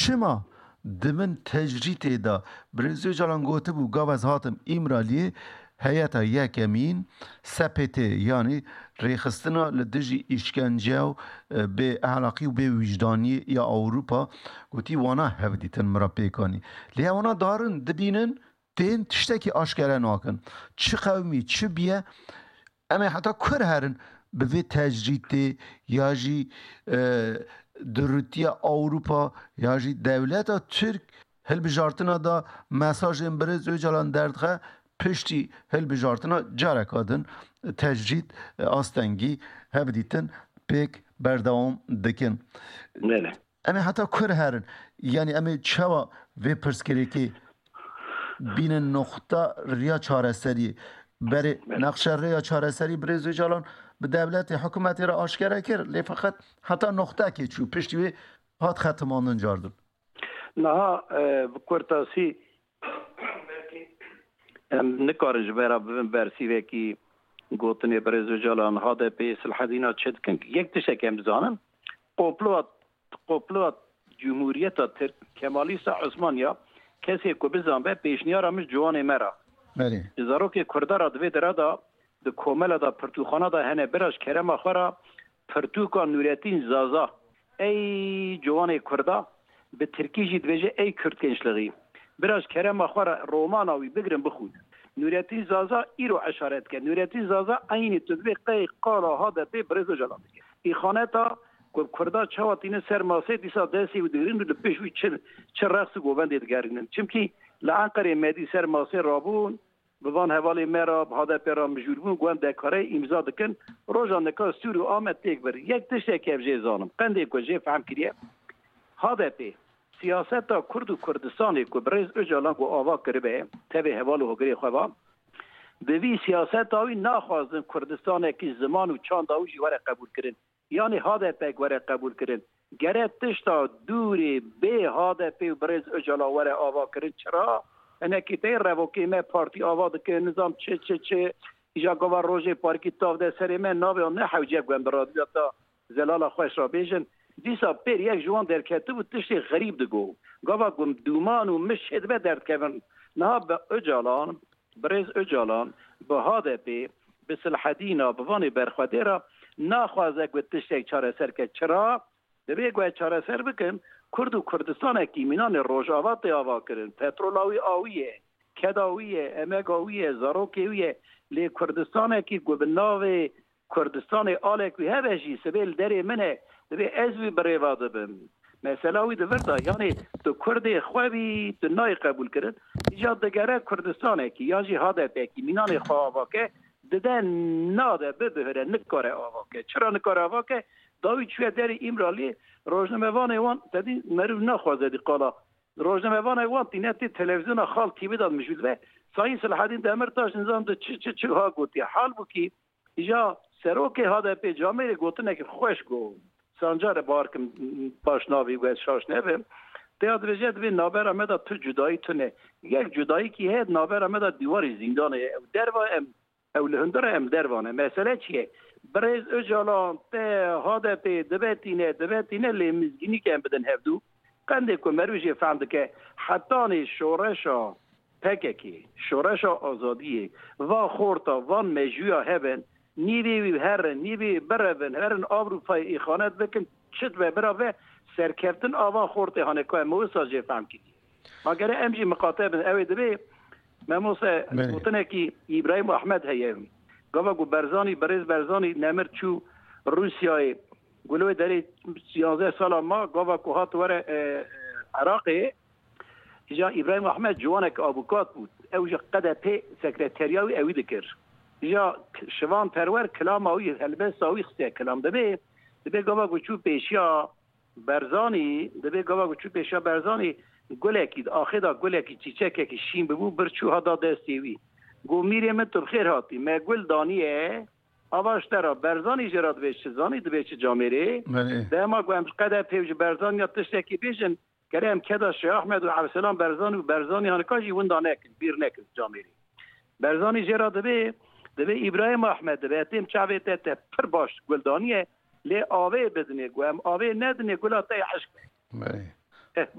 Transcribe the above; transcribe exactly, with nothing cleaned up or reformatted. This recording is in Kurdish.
Çima di bin tecrîtê de Birêz Ocalan gotibû, gava ez hatim Îmraliyê, heyeta yekemîn S P T, yanî rêxistina li dijî îşkence û, e, bê ehlaqî û bê wijdanî ya Ewropa, gotî wana hevdîtin min re pêk anî. Lê wana darin dibînin, tên tiştekî aşkere nakin. Çi qewimî, çi biye, em ê heta kur herin bi vê tecrîtê ya jî, e, durûtiya Ewropa ya jî dewleta Tirk hilbijartina da mesajên Birêz Ocalan derdixe, piştî hilbijartina careka din tecrît, e, astengî hevdîtin pêk berdewam dikin. Belê. Em ê heta kur herin? Yanî em ê çawa vê pirsgirêkê bînin noqta riya çareseriyê? Berê Belê. Nexşe rêya çareserî Birêz Ocalan bi dewletê, hikûmetê re aşkere kir. Lê feqet heta noqtekê çû. Piştî wê hat xetimandin cardin. Niha, e, bi kurtasî, belkî em nikarin ji me re bibin bersîvekî gotinê Birêz Ocalan, H D P Silhedîna çi dikin? Yek tiştek em dizanin, komploya, komploya Cumhuriyeta Tirk, Kemalîsta Osmaniya, kesê ku bizanbe pêşniyara min ji ciwanê me re. Belê. Ji zarokê Kurda re di vê dere de, di komela de, pirtûkxana de hene, bira ji kerema xwe re pirtûka Nûretîn Zaza, ey ciwanê Kurda, bi tirkî jî dibêje ey Kürt gençliği. Bira ji kerema xwe re romana wî bigirin bixwînin. Nûretîn Zaza îro eşaret dike. Nûretîn Zaza eynî tu dibê qey qala H D P Birêz Ocalan dike. Îxaneta ku Kurda çawa tîne ser masê, dîsa destê wî digirin û li pişt wî çi, çi reqs û govendê digerînin. Çimkî li Enqerê me dî ser masê rabûn, bi van hevalên me re, bi H D P re mijûl bûn, ku em dekare îmza dikin. Roja nika Sûrî û Amed têk bir. Yek tiştek ev jê zanim, qendê ku jê fehm kiriye, H D P siyaseta Kurd û Kurdistanê ku Birêz Ocalan ku ava kiribe, tevê heval û hogirê xwe va, bi vî siyaseta wî naxwazin Kurdistanekî ziman û çanda wî jî were qebûlkirin. Yanî H D P were qebûlkirin. Gere tişta dûrê bê H D P û Birêz Ocalan were avakirin. Çira? Hinekî tey revokê me partî ava dikin, nizam çi, çi, çi. Îja gava rojê parkî tav de serê me navê wan ne hewce ku em bi radyoya ta zelala xweş ra bêjin. Dîsa pêr yek ji wan derketibû tiştê xerîb digo. Gava ku dûman û mij çêdibe derdikevin. Niha bi Ocalan, Birêz Ocalan, bi H D P, bi Silhedîna, bi vanê berxwedê re naxwaze ku tiştek çareser ke. Çira? Divê ku ez çareser bikim, Kurd û Kurdistanekî mînanê Rojava tê avakirin. Petrola wî a wî ye, keda wî ye, emega wî ye, zarokê wî ye. Lê Kurdistanekî ku bi navê Kurdistanê alek wî hebe jî, sibê li derê min e, divê ez wî birêva dibim. Mesela wî di vir de, yanî tu Kurdê xwe bî, tu nayê qebûlkirin. Îca digere Kurdistanekî, ya jî H D P'kî mînanê xwe avake, dide nade, bibihire, nikare avake. Çira nikare avake? Dawî çûye derê Îmraliyê, rojnamevanê wan, te dî meriv naxwaze dî qala. Rojnamevanek wan tîne tê televîzyona Xal T V de mijûl be. Sayîn Selahedîn Demirtaş nizam de çi, çi, çi ha gotiye. Halbûkî îja serokê H D P camêrê gotinekî xweş got. Sancar e, bar kim baş navî wê şaş nebim. Têya dibêje, divê navbera me de tu cudayî tune. Yek cudayîkî heye, navbera me de dîwarê zîndanê ye. Ew derva em, ew li hundir e, em derva ne. Mesele çi ye? Birêz Ocalan te H D P dibe tîne, dibe tîne lê mizgînî ke em bidin hevdû. Qendê ku meriv jê fehm dike, hetanê şoreşa P K K, şoreşa azadiyê, va xorta, van mejûya hebin, nîvê wî herin, nîvê birevin, herin Avrupayê îxanet bikin, çi dibe bira ve, serkeftin a van xortê hane ku em wisa jê fehm kiriye. Ma gere em jî miqate bin, ew ê dibê, memose Belê. Gotinekî Îbrahîm Ahmed heye. Gava ku Berzanî, birêz Berzanî nemir çû Rûsyayê, Guloyê derê siyazdeh sala ma, gava ku hat were, e, Iraqê, îja Îbrahîm Ahmed ciwanek abukat bû. Ew ji Q D P sekreteriya wî ewî dikir. Îja Şivan Perwer kilama wî, helbesta wî xistiye kilam. Dibê, dibê gava ku çû pêşiya Berzanî, dibê gava ku çû pêşiya Berzanî, gulekî, di axê de gulekî, çîçekekî şîn bibû, bir çû hada destê wî. Got, mîrê min, tu bi xêr hatî. Me gul daniye, ava ji te re. Berzanî jê re dibê çi zanî, dibê çi camêrê. Belê. Dema ku em ji Q D P û ji Berzanî ya tiştekî bêjin, gere em keda Şêx Ahmed û Evselan Berzanî û Berzanî hanika jî winda nekin, bîr nekin camêrê. Berzanî jê re dibê, dibê Îbrahîm Ahmed, dibê têm çavê te, te pir baş gul daniye, lê avê bidinê, ku em avê nedinê, gula te ya eşq be. Belê. Eh, baş.